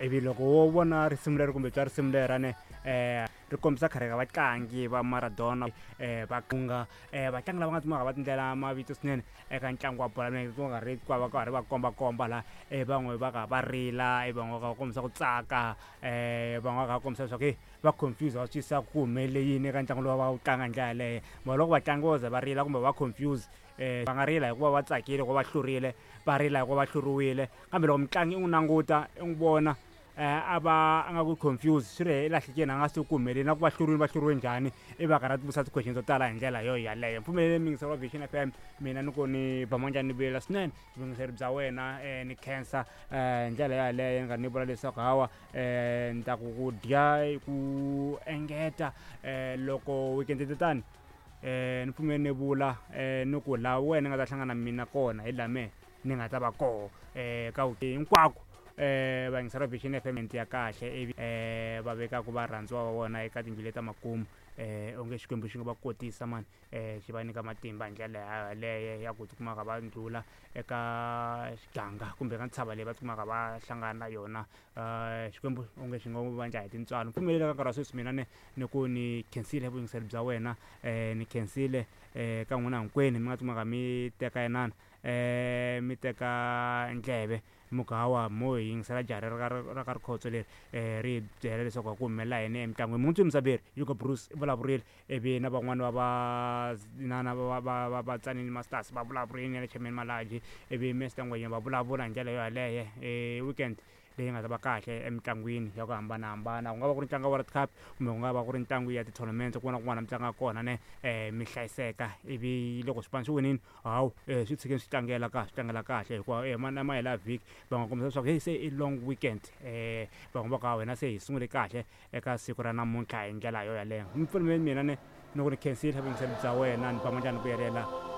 Ivi loko wo vona risimu leri kumbe twa risimu leri ne ri kombisa khale ka vatlangi va Maradona va kunga vatlangi lava nga tsumaka va tindlela mavito swinene eka ntlangu wa bolo ya milenge ku nga ri ku va karhi va kombakomba la van'we va ka va rila van'we va ka va kombisa ku tsaka van'we va ka va kombisa leswaku heyi va confuse va twisisa ku humelele yini eka ntlangu lowu va wu tlanga hi ndlela yaleyo. Mara loko vatlangi vo ze va rila kumbe va confuse va nga rila hikuva va tsakile hikuva va hlurile va rila hikuva va hluriwile kambe loko mutlangi i n'wi languta i n'wi vona a va a nga ku confuse swi ri i lahlekile a nga swi tivi ku humeleli na ku va hluriwile va hluriwe njhani i va karhi a tivutisa ti-question to tala hi ndlela yo yaleyo. Mpfumeleli muyingiseri wa Vision F_M mina ni ku ni ba manjani ni vilela swinene vuyingiseri bya wena ni khensa hi ndlela yaleyo ni nga ni vula leswaku hawa ni ta ku ku dya ku engeta loko weekend ti tani ni pfumeli ni vula ni ku laha wena nga ta hlangana na mina kona hi laha mehe ni nga ta va koho ka hinkwako vayingiseri va Vision F_M ya kahle ivi va vekaku varhandziwa va vona eka tindlu leti ta makumu onge Xikwembu xi nga va kotisa mani xi va nyika matimba hi ndlela yaleyo ya ku tikumaka va ndlhula eka xiganga kumbe ka ntshava leyi va tikumaka va hlangana na yona Xikwembu onge xi ngo va endla hi tintswalo. Pfumelela ka nkarhi wa sweswi mina ni ni ku ni khensile vuyingiseri bya wena ni khensile ka n'wina hinkwenu mi nga tikumaka mi teka inana mi teka ndleve mi ku hawa mo hi yingisela jaha leri ra ra ka Rikhotso leri ri hi byela leswaku a ku humelela yini emitlangwini. Muntshwa Musaberi Hugo Broos i vulavurile ivi na van'wani va va na na va va va va Tzaneen Masters va vulavurile na le Chairman Malatji ivi Mister Ngwenya va vulavula hi ndlela yo yaleyo weekend leyi nga ta va kahle emitlangwini ya ku hambanahambana ku nga va ku ri ntlangu wa World Cup kumbe ku nga va ku ri ntlangu ya ti-tournament kun'wana na kun'wana mi tlangaka kona ne mi hlayiseka ivi loko swipano swi winile hawu swi tshikeni swi tlangela kahle swi tlangela kahle hikuva na mahelo ya vhiki va nga kombisa leswaku heyi se i long weekend van'we va ku hawu hina se hi sungule kahle eka siku ra namuntlha hi ndlela yo yaleyo. Mi pfumeleli mina ni ni ku ni khensile vuyingiseri bya wena ni ba mandla ni vuyelela.